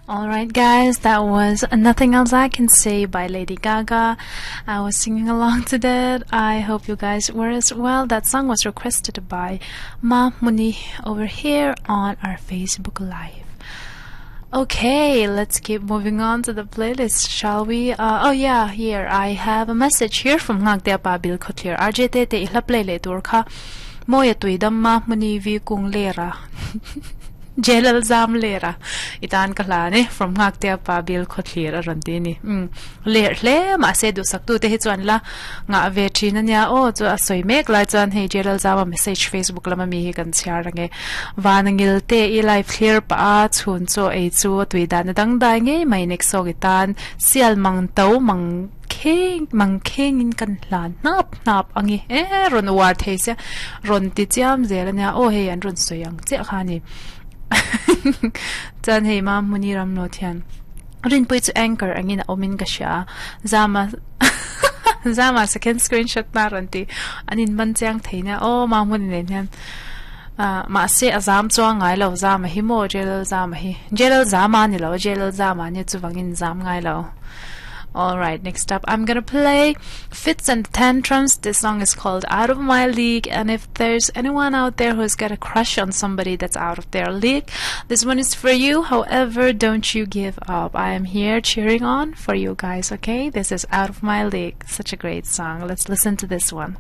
Alright guys, that was Nothing Else I Can Say by Lady Gaga. I was singing along to that. I hope you guys were as well. That song was requested by Ma Muni over here on our Facebook Live. Okay, let's keep moving on to the playlist, shall we? Uh, oh yeah, here I have a message here from Ngakte Pa Bil Khotlir. RJ te te ihla play le tur kha. Moya tuidam ma muni vi kung lera. Jelal zam lera itan ka hla ni from ngaktea pa bil khawthlir a rawn ti ni um ler hle mahse duhsak tu te hi chuan la ngah ve thin ania aw chu a sawi mek lai chuan hei Jelal zama message facebook lama mi hi kan chhiar ange vanangil te i live thlir pah a chhun chaw ei chu a tui dan a dangdai ngei mai next sawk i tan sial mang to mang kheng mang kheng in kan hlan hnap hnap ange e rawn uar thei sia rawn ti chiam zel ania aw hei an rawn sawi ang chiah kha ani chuan hei ma hmuni ram lo thian rinpui chu anchor angin a awmin ka hria zama zama second screenshot na rawn ti an in man chiang thei nia aw ma hmuni nen hian ah mahse a zam chuang ngai lo zama hi maw jelal zama hi jelal zama ani lo jelal zama ania chuvangin zam ngai lo. Alright, next up I'm gonna play Fits and Tantrums. This song is called Out of My League. And if there's anyone out there who's got a crush on somebody that's out of their league, this one is for you. However, don't you give up. I am here cheering on for you guys, okay? This is Out of My League. Such a great song. Let's listen to this one.